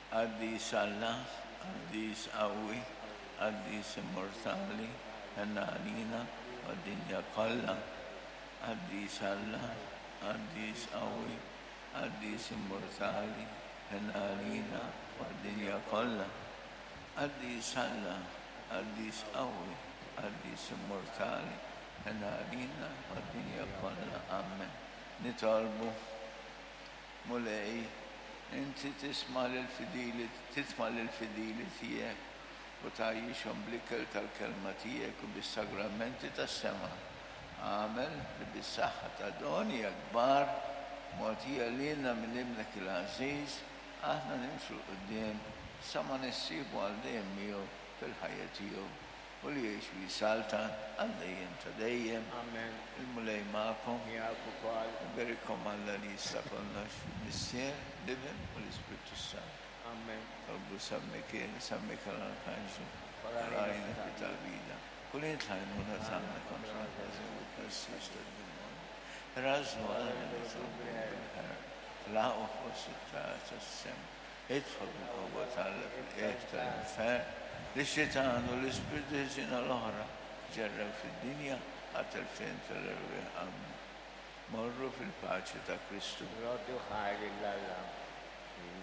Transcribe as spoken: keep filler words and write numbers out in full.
Qaddis Alla, qaddis qawwi, qaddis immortali, ħenn għalina u għad-dinja kollha. Qaddis Alla, qaddis qawwi, qaddis immortali, ħenn għalina u għad-dinja kollha. Qaddis Alla, qaddis qawwi, qaddis immortali, ħenn għalina u għad-dinja kollha. Amen. Nitolbu. Mulej, inti tisma' lill-fidili, titma' lill-fidili tiegħek u tgħajjixhom bl-ikel tal-kelma tiegħek u bis-sagramenti tas-sema. Agħmel li bis-saħħa ta' doni hekk kbar mogħtija lilna minn Ibnek il-għażiż, aħna nimxu 'l quddiem sa ma nissieħbu għal dejjem miegħu fil-ħajja tiegħu u li jgħix u jsaltan għal dejjem ta' dejjem. Amen. Il-Mulej magħkom. Miegħek ukoll. Iberikkom Alla li jista' kollox, il-Missier, l-Iben u l-Ispirtu s-Santu. Amen. Tolbu San Mikiel, San Mikiel Arkanġlu, Farajna rajna fi tagħbida. Kull tlajnuna tagħna kontra l-ħażin u t-tnassis tad-demonju. Rażnu għalna nitolbu bil-ħerqa. Tlaqgħu fost it-tara tas-sema. Idħol bil-qawwa t'Alla fil-qiegħ tal-infern lix-xitan u l-ispirti ħżiena l-oħra ġerrew fid-dinja għat-telfien tal-erwieħ. Amen. Morru fil-paċi ta' Kristu. Roddu ħajr lil Alla.